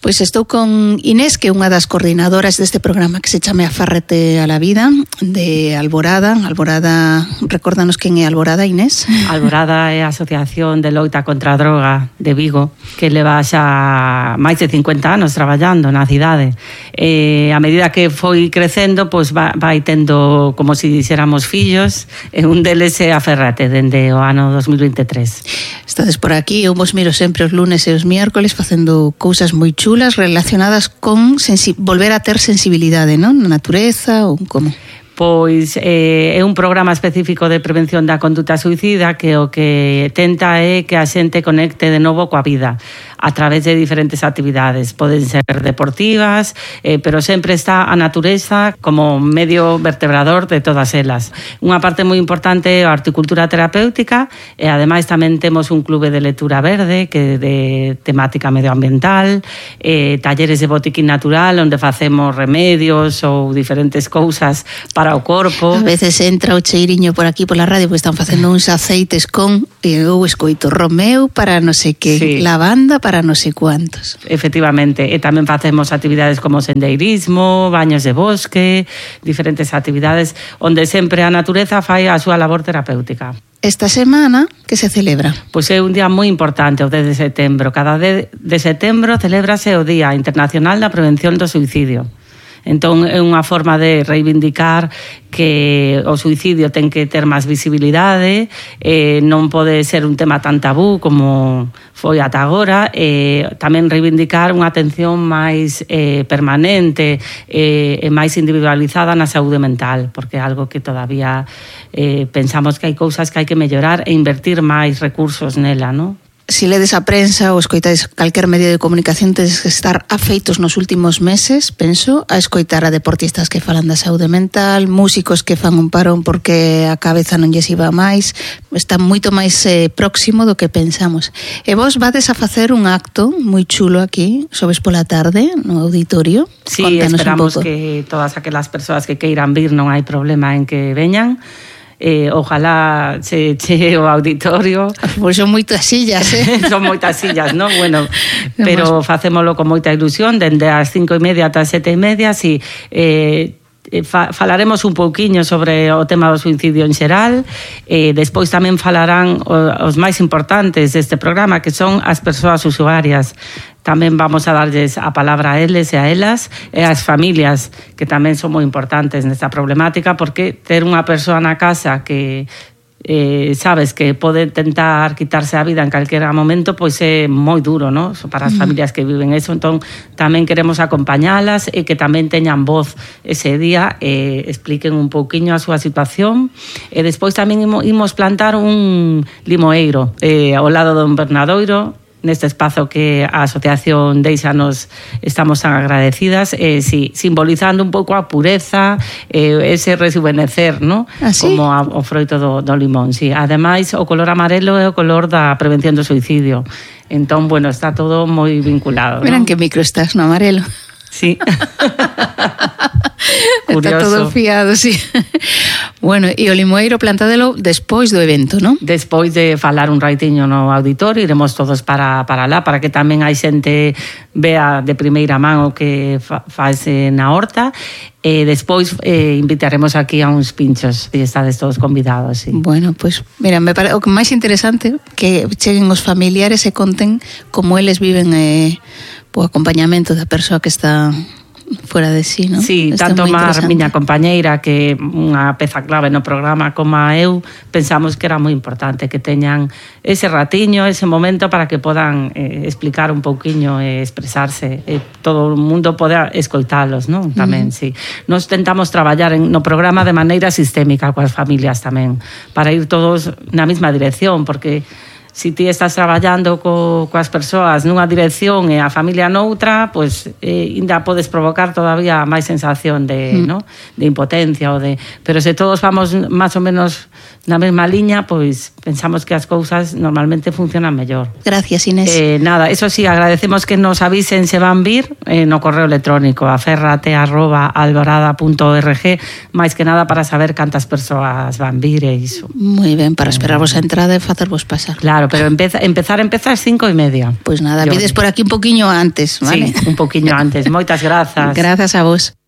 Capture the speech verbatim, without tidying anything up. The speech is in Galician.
Pois estou con Inés, que é unha das coordinadoras deste programa que se chame Afárrate a la Vida, de Alborada. Alborada, recórdanos quen é Alborada, Inés? Alborada é a Asociación de Loita contra a Droga de Vigo, que leva xa máis de cincuenta anos traballando na cidade. E a medida que foi crecendo, pois vai, vai tendo como se dixéramos fillos, e un deles é Aférrate, dende o ano dos mil veintitrés. Estades por aquí, eu vos miro sempre os lunes e os miércoles facendo cousas moi chulas relacionadas con sensi- volver a ter sensibilidade, non? Na natureza ou como? Pois eh, é un programa específico de prevención da conduta suicida que o que tenta é que a xente conecte de novo coa vida a través de diferentes actividades. Poden ser deportivas, eh, pero sempre está a natureza como medio vertebrador de todas elas. Unha parte moi importante é a horticultura terapéutica e ademais tamén temos un clube de lectura verde que de temática medioambiental, eh, talleres de botiquín natural onde facemos remedios ou diferentes cousas para o corpo. A veces entra o cheiriño por aquí pola radio porque están facendo uns aceites con, e eu escoito Romeo para non sei que, sí. Lavanda para non sei cuantos. Efectivamente, e tamén facemos actividades como sendeirismo, baños de bosque, diferentes actividades onde sempre a natureza fai a súa labor terapéutica. Esta semana, que se celebra? Pois é un día moi importante, o dez de setembro. Cada dez de setembro celébrase o Día Internacional da Prevención do Suicidio. Entón é unha forma de reivindicar que o suicidio ten que ter máis visibilidade, eh, non pode ser un tema tan tabú como foi ata agora, e eh, tamén reivindicar unha atención máis eh, permanente e eh, máis individualizada na saúde mental, porque é algo que todavía eh, pensamos que hai cousas que hai que mellorar e invertir máis recursos nela, non? Si ledes a prensa ou escoitáis calquer medio de comunicación, tedes que estar afeitos nos últimos meses, penso, a escoitar a deportistas que falan da saúde mental, músicos que fan un parón porque a cabeza non lles iba máis, está moito máis eh, próximo do que pensamos. E vos vades a facer un acto moi chulo aquí, xoves pola tarde, no auditorio. Sí, Contanos esperamos que todas aquelas persoas que queiran vir non hai problema en que veñan. Eh, ojalá se che o auditorio. Pois son moitas sillas, eh? Son moitas sillas, non? Bueno, pero facémolo con moita ilusión, dende as cinco e media ata as sete e media, si eh, fa, falaremos un pouquiño sobre o tema do suicidio en xeral, e despois tamén falarán os máis importantes deste programa, que son as persoas usuarias. Tamén vamos a darlles a palabra a eles e a elas e ás familias, que tamén son moi importantes nesta problemática, porque ter unha persoa na casa que eh, sabes que pode tentar quitarse a vida en calquera momento, pois é moi duro, non? Para as familias que viven eso. Entón tamén queremos acompañalas e que tamén teñan voz ese día e expliquen un pouquiño a súa situación. E despois tamén imos plantar un limoeiro eh, ao lado do Invernadoiro, neste espazo que a asociación Deixanos estamos tan agradecidas, eh, sí, simbolizando un pouco a pureza, eh, ese rejuvenecer, ¿no? ¿Ah, sí? Como a, o froito do, do limón, sí. Ademais, o color amarelo é o color da prevención do suicidio. Entón, bueno, está todo moi vinculado, Verán, ¿no? que micro estás no amarelo. Sí. Está todo fiado, sí. Bueno, e o limoeiro plantadelo despois do evento, non? Despois de falar un raitiño no auditorio, iremos todos para, para lá, para que tamén hai xente vea de primeira man o que fa, faese na horta. E despois eh, invitaremos aquí a uns pinchos e estades todos convidados, sí. Bueno, pois, pues, mira, me pare... o que máis interesante que cheguen os familiares e conten como eles viven eh, o acompañamento da persoa que está fora de sí, non? Sí, Está tanto má miña compañera compañeira, que unha peza clave no programa, como a eu, pensamos que era moi importante que teñan ese ratiño, ese momento para que podan eh, explicar un pouquiño e expresarse, e todo o mundo poda escoitalos, non? Tamén, mm. sí. Nos tentamos traballar en, no programa de maneira sistémica coas familias tamén, para ir todos na mesma dirección, porque si ti estás traballando co, coas persoas nunha dirección e a familia noutra, pois eh, ainda podes provocar todavía máis sensación de, mm. no? de impotencia ou de, pero se todos vamos máis ou menos na mesma liña, pois pensamos que as cousas normalmente funcionan mellor. Gracias, Inés. Eh, nada, eso sí, agradecemos que nos avisen se van vir eh, no correo electrónico aférrate arroba alborada punto org, máis que nada para saber cantas persoas van vir e iso. Moi ben, para esperarvos a entrada e facervos pasar. Claro. Claro, pero empeza, empezar, empezar cinco e media. Pois pues nada, Yo... vides por aquí un poquinho antes, vale? Sí, un poquinho antes. Moitas grazas. Grazas a vos.